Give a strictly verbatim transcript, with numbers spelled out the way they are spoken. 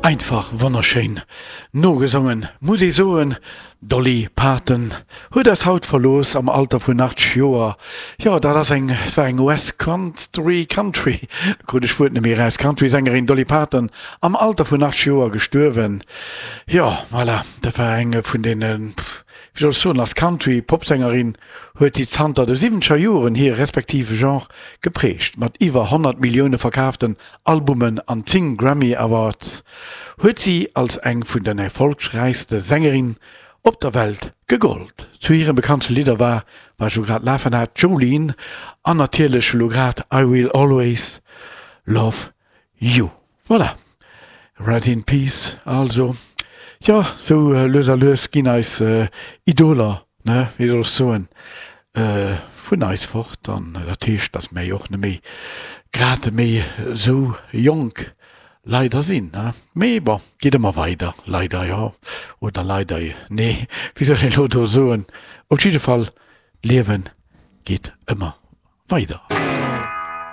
Einfach wonnerschéin nogesongen, muss ee soen. D'Dolly Parton huet eis haut verlooss am Alter vun achtzeg Joer. Jo, dat ass eng, et war eng U S Country, Country, do krut ech d'Wuert net méi eraus, Country-Sängerin Dolly Parton am Alter vun achtzeg Joer gestuerwen. Jo, voilà, dat war eng vun deene, wéi soll ech soen, als Country-Popsängerin huet si zanter de siwwenzeger Joren hire respektive Genre geprägt. Mat iwwer honnert Millioune verkaaften Albumen an zéng Grammy Awards huet si als eng vun den erfollegräichste Sängerin op der Welt gegollt. Zu hire bekanntste Lidder war, wat ech elo grad lafen hat, Jolene an natierlech elo grad I Will Always Love You. Voilà. Rest in Peace also. Jo, sou lues a lues ginn eis Idoler, ne, wéi soll ech soen, vun eis fort an dat heescht, dass mir jo och net méi grad méi sou jonk leider sinn, ne. Mee bon, geet ëmmer weider, leider jo oder leider nee, wéi soll een elo do soen, op jidde Fall, d'Liewe geet ëmmer weider.